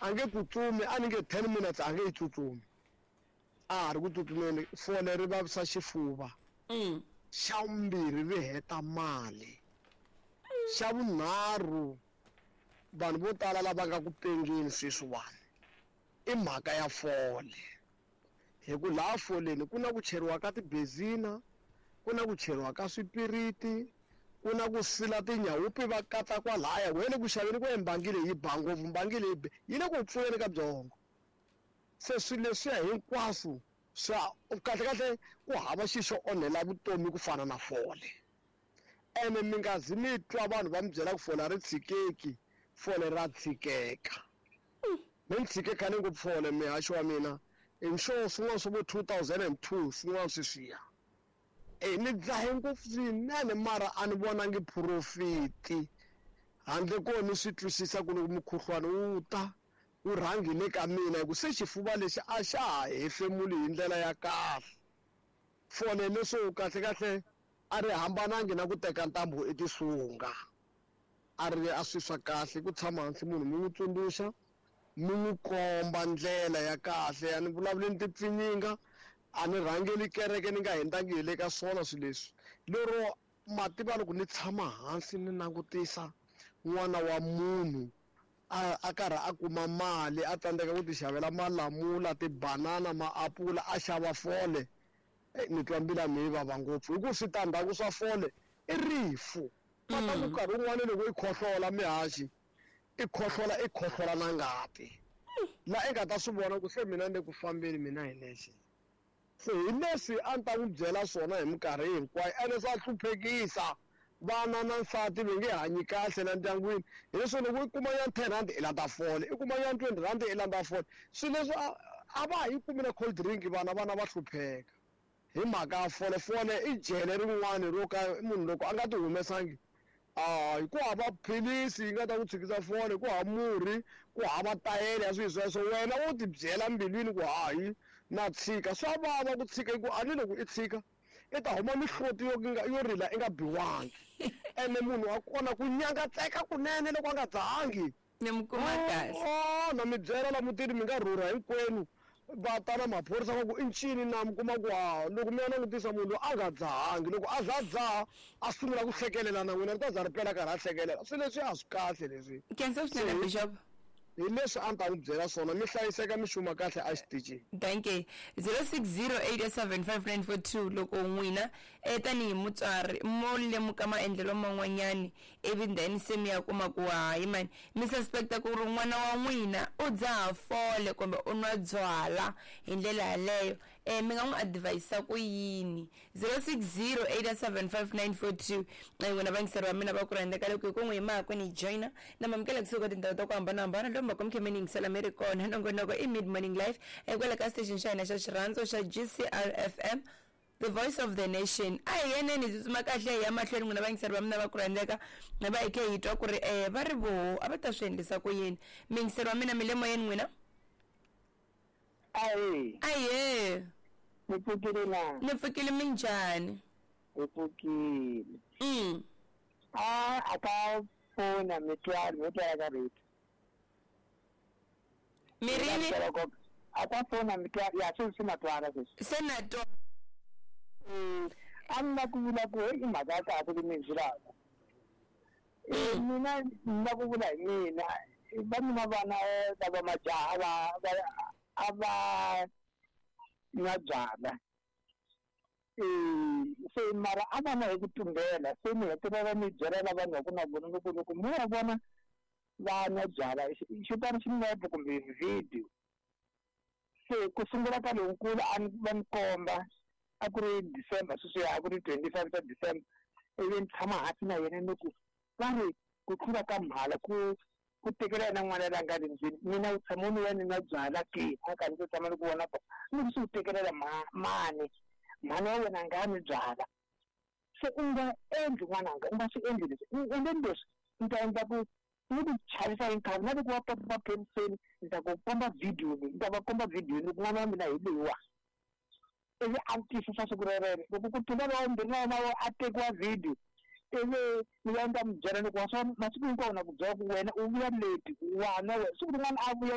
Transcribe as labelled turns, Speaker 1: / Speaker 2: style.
Speaker 1: A nge tsutsumi, a ni nge 10 minutes a nge yi tsutsumi. A ha ri ku tsutsumeni, fole ri vavisa xifuva. Xa vumbirhi ri heta mali. Xa vunharhu vanhu vo tala lava nga ku pengeni sweswiwani i mhaka ya fole. Hi ku laha foleni ku na ku cheriwa ka tibezina, ku na ku cheriwa ka swipiriti, ku na ku sila tinyawupi va katsa kwalaya. Wena ku xaveni ku mbangi leyi yi ba ngopfu, mbangi leyi yi le ku pfuleni ka byongo. Se swilo leswiya hinkwaswo swa kahlekahle ku hava xilo xo onhela vutomi ku fana na fole. Ene mi nga zi mi twa vanhu va mi byela ku fole a ri tshikeki, fole ra tshikeka. Mi ni tshike khale ngopfu fole mihaxo wa mina. I'm sure swin'wana swa vo 2002 swin'wana sweswiya. Ni dzahe ngopfu swinene mara a ni vonangi phurofiti. Handle ko ni swi twisisa ku loko mukhuhlwani wu ta wu rhangi le ka mina hi ku se xifuva lexi a xa ha hefemuli hi ndlela ya kahle. Fole leswo kahlekahle a ri hambanangi na ku teka ntambu etisunga. A ri a swi swa kahle ku tshama hansi munhu mi n'wi tsundzuxa, mi n'wi komba ndlela ya kahle. A ni vulavuli ni tipfinyinga, a ni rhangeli kereke ni nga hundzangi hi le ka swona swilo leswi. Lero mativa loko ni tshama hansi ni langutisa n'wana wa munhu a karhi a kuma mali, a tsandzeka ku ti xavela malamula, tibanana, maapula, a xava fole. Ni twa mbilu ya mina yi vava ngopfu hi ku switandzhaku swa fole i rifu. Va ta ku nkarhi wun'wani loko i khohlola mihaxi, i khohlola i khohlola na ngati. La i nga ta swi vona ku se mina ni le ku fambeni mina hi nexe. Se hi leswi a ni ta n'wi byela swona hi minkarhi hinkwayo, ene swa hluphekisa vana na nsati va nge hanyi kahle la ndyangwini. Hi leswi loko i kuma ya 10 rand i landza fole, i kuma ya 20 rand i landza fole. Swilo leswi a va ha yi kumi na cold drink vana, vana va hlupheka hi mhaka ya fole. Fole i jele rin'wani ro ka munhu loko a nga ti humesangi, ku hava philisi yi nga ta ku tshikisa fole, ku hava murhi, ku hava tayele ya swilo sweswo. Wena wo ti byela mbilwini ku hayi na tshika. Swa vava ku tshika hi ku a ni loko i tshika i ta huma mihloti yo rila i nga biwangi. Ene munhu wa kona ku nyangatseka kunene loko a nga dzahangi.
Speaker 2: Ni mi kuma kahle.
Speaker 1: Na mi byela la mutini mi nga rhurha hinkwenu va ta na maphorisa va ku i ncini na mi kuma ku ha loko mi ya langutisa munhu loyi a nga dzahangi, loko a za dzaha a sungula ku hlekelela na n'wina ri ta za ri pela karhi a hlekelela. Swilo leswi a swi kahle leswi.
Speaker 2: Khensa swinene Bishop.
Speaker 1: Hi leswi a ni ta n'wi byela swona, mi hlayiseka mi xuma kahle a xitichini.
Speaker 2: Thank you. 0608755942 loko n'wina tanihi mutswari mo lemuka maendlelo man'wanyani ivi then se mi ya kuma ku hayi mani mi suspecta ku ri n'wana wa n'wina u dzaha fole kumbe u nwa byala hi ndlela yaleyo, mi nga n'wi advise ku yini? 0608755942. N'wina vayingiseri va mina va ku rhandza ka loko hi ku n'wi yima ku ni joina na mamukela kusuka tindhawu ta ku hambanahambana lomu va ku mi kha mi ni yingisela mi ri kona. Nongonoko i Mid Morning Life kwala ka station xa hina xa xirhandzo xa GCR FM, the voice of the nation. A hi yeneni hi tsutsuma kahle hi ya mahlweni n'wina vayingiseri va mina va ku rhandzeka, va hi khe hi twa ku ri va ri voho a va ta swi endlisa ku yini. Muyingiseri wa mina mi le moyeni n'wina?
Speaker 3: Ahee.
Speaker 2: Ahee.
Speaker 3: Mi pfukile na?
Speaker 2: Ni pfukile, minjhani?
Speaker 3: Hi pfukile. A ka fona mi twala, mi twala ka radio.
Speaker 2: Mi rini?
Speaker 3: A ka fona mi twala, ya sweswi na twala sweswi.
Speaker 2: Se na twa.
Speaker 3: A ni la ku vula ku i mhaka ya kahle leyi mi yi vulaka. Mina ni la ku vula hi mina, va mina vana lava majaha a va nwa byala. Se mara a va na hi ku tumbela, se ni hetelela ni byela lava ni va ku na vona loko loko mi va vona va nwa byala xi tani xinepe kumbe video. Se ku sungula ka lonkulu a ni va ni komba a ku ri December sweswiya, a ku ri 25 ta December, ivi ni tshama hansi na yena ni ku va ri ku tlula ka mhala ku ku tekela yena n'wana la nga le ndzeni, mina u tshama u ni ya ni nwa byala ke, a ka ndzi tshama ni ku vona ni ku swi u tekelela mani, mhani wa wena a nga nwi byala. Se u nga endli n'wananga, u nga swi endli leswi, u endleni leswi ni ta endla ku ni ku chavisa hi nkhavi na loko va papa maphoriseni ni ta ku komba video leyi, ni ta va komba video leyi ku n'wana wa mina hi loyiwa. Ivi a twisisa siku rerero loko ku tlula lowa vumbirhi na yena a tekiwa video, ivi ni ya ni ta n'wi byela loko wa swa masiku hinkwawo na ku byela ku wena u vuya late wa nwa wena, siku rin'wana a vuya.